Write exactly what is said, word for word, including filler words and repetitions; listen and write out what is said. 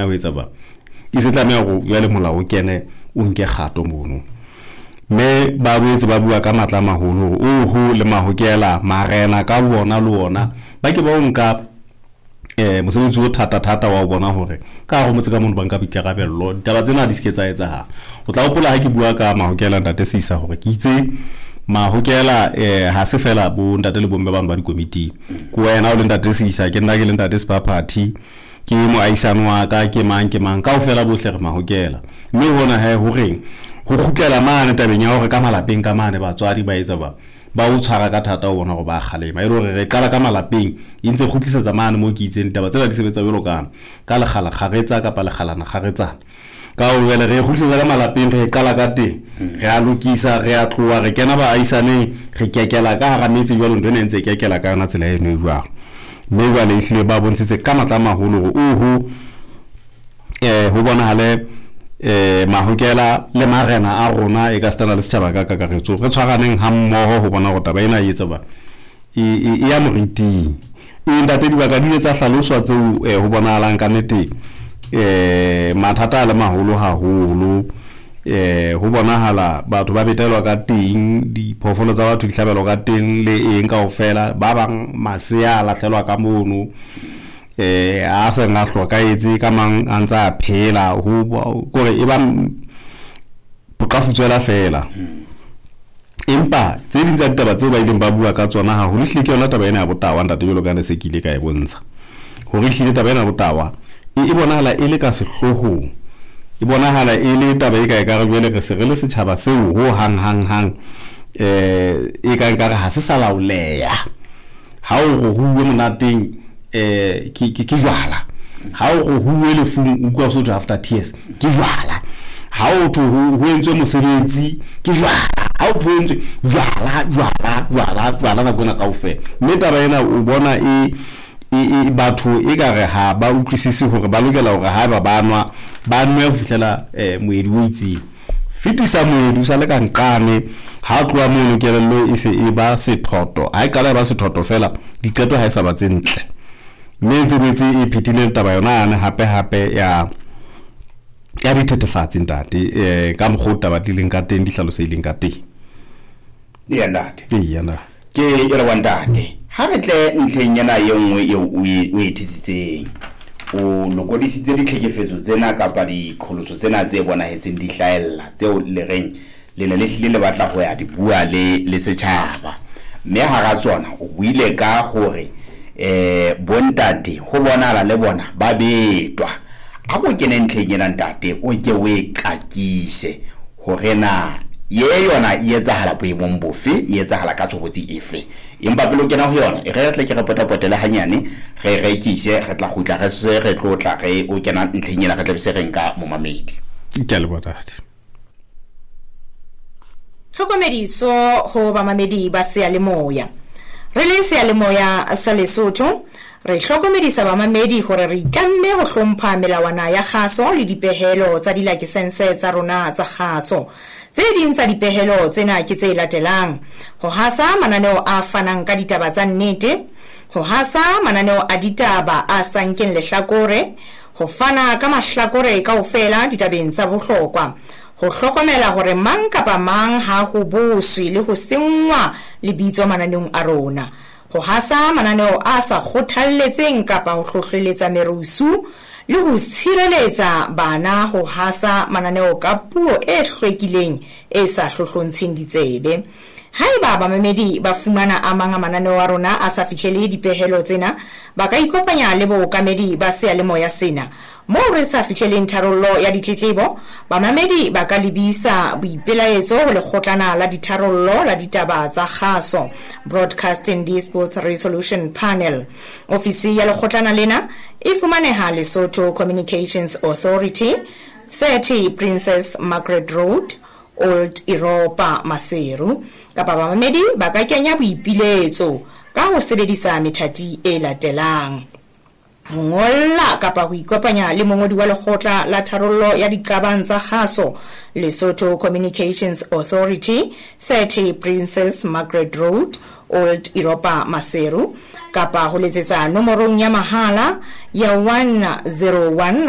Ho etsa ba e se tlameha hore jwale molao o kene, o nke kgato mono. Mme ba boetse ba bua ka matla a maholo hore oho le mahokela marena ka bona le ona ba ke ba o nka eh mosebetsi o thata thata wa ho bona hore ka hare ho motse ka mono ba nka boikarabello, ditaba tsena di se ke tsa etsahala. O tla hopola ha ke bua ka mahokela, ntate Seisa, hore ke itse mahokela eh ha se fela bo ntate le bomme bano ba dikomiting. Ke wena o le ntate Seisa, ke nna ke le ntate Sephaphathi, ke moahisane wa ka, ke mang ke mang, kaofela bohle re mahokela. Mme hona he horeng ho kgutlela mane tabeng ya hore ka malapeng ka mane batswadi ba etsa ba ba o tshwara ka thata ho bona hore ba kgalema, e le hore re qala ka malapeng e ntse kgutlisetsa mane moo ke itseng ditaba tsena di sebetsa jwalo ka ka lekgala kgaretsa kapa lekgalana kgaretsana. Ka ho jwale re kgutlisetsa ka malapeng, re qala ka teng, re a lokisa, re a tloha, re kena baahisaneng, re kekela ka hara metse jwalo, ntho ena e ntse e kekela ka yona tsela eno e jwalo. Mme jwale ehlile ba bontshitse ka matla a maholo hore oho eh ho bonahale eh mahokela le marena a rona e ka setana le setjhaba ka kakaretso re tshwaraneng ha mmoho ho bona hore taba ena e etsa ba e e ya moriting. E ntate, dibaka di ile tsa hlaloswa tseo eh, ho bonahalang ka nnete eh mathata a le maholo haholo. Eh ho bonahala batho ba betelwa ka teng, diphoofolo tsa batho di hlabelwa ka teng le eng kaofela, ba bang masea a lahlelwa ka mono eh a seng a hlokahetse, ka mang a ntse a phela, ho kore e ba boqafutswela fela. Empa tse ding tsa ditaba tseo ba ileng ba bua ka tsona haholo ehlile ke yona taba ena ya botawa, ntate, jwalo ka ne se ke ile ka e bontsha hore ehlile taba ena ya botawa e e bonahala e le ka sehloohong, e bonahala e le taba e ka ekare jwale re se re le setjhaba seo ho hang hang hang eh e ka nkare ha se sa laoleha. Ha o re huwe monateng eh ke ke ke jwala, ha o re huwe lefung o utlwa so after tears ke jwala, ha o thwe ho entswe mosebetsi ke jwala, ha o thwe ho entswe jwala jwala jwala jwala nako ena kaofela. Mme taba ena o bona e e batho e ka re ha ba utlwisise hore ba lokela hore haeba ba nwa ba nwe ho fihlela eh moedi o itseng. Fetisa moedi o sa le ka nqane, ha tloha mono kelello e se e ba sethoto, ha e qala e ba sethoto fela diqeto ha e sa ba tse ntle. Mme e ntse boetse e phethile taba yona yane hape hape ya ya dithethefatsi ntate, eh ka mokgwa o taba di leng ka teng, di hlalosehileng ka teng. Eya ntate. Eya na. Ke e re wa ntate, ha re tle ntlheng ena e nngwe eo o e o e thetsitseng. O lokodisitse ditlhekefetso tsena kapa diqholotso tsena tse bonahetseng di hlahella tseo le reng le ne le hlile le batla ho ya di bua le le setjhaba. Mme hara tsona o buile ka hore eh bontate ho bonahala le bona ba betwa. A ko kene ntlheng ena ntate, o ke o e qakise hore na ye yona e etsahala boemong bofe, e etsahala ka tshobotsi efe. Empa pele o kena ho yona, e re re tle ke re potapotele hanyane, re rekise, re tla kgutla re se re tlotla re o kena ntlheng ena, re tla be se re nka momamedi. Ke a leboha ntate. Tlhokomediso ho bamamedi ba seyalemoya. Re le seyalemoya sa Lesotho, re hlokomedisa bamamedi hore re itlamme ho hlompha melawana ya kgaso le dipehelo tsa dilakesense tsa rona tsa kgaso. Tse ding tsa dipehelo tsena ke tse latelang: ho hasa mananeo a fanang ka ditaba tsa nnete, ho hasa mananeo a ditaba a sa nkeng lehlakore, ho fana ka mahlakore kaofela ditabeng tsa bohlokwa, ho hlokomela hore mang kapa mang ha ho boswe le ho senngwa lebitso mananeong a rona, ho hasa mananeo a sa kgothalletseng kapa ho hlohleletsa merusu, le ho tshireletsa bana ho hasa mananeo ka puo e hlwekileng e sa hlohlontsheng ditsebe. Haeba bamamedi ba fumana a mang a mananeo a rona a sa fihlele dipehelo tsena, ba ka ikopanya le bookamedi ba seyalemoya sena. Moo re sa fihleleng tharollo ya ditletlebo, bamamedi ba ka lebisa boipelaetso ho lekgotlana la ditharollo la ditaba tsa kgaso, Broadcasting Disputes Resolution Panel. Ofisi ya lekgotlana lena e fumaneha Lesotho Communications Authority, thirty Princess Margaret Road, Old Europa, Maseru. Kapa bamamedi ba ka kenya boipiletso ka ho sebedisa methati e latelang: ho ngolla kapa ho ikopanya le mongodi wa lekgotla la tharollo ya diqabang tsa kgaso, Lesotho Communications Authority, thirty Princess Margaret Road, Old Europa Maseru, kapa ho letsetsa nomorong ya mahala ya one zero one.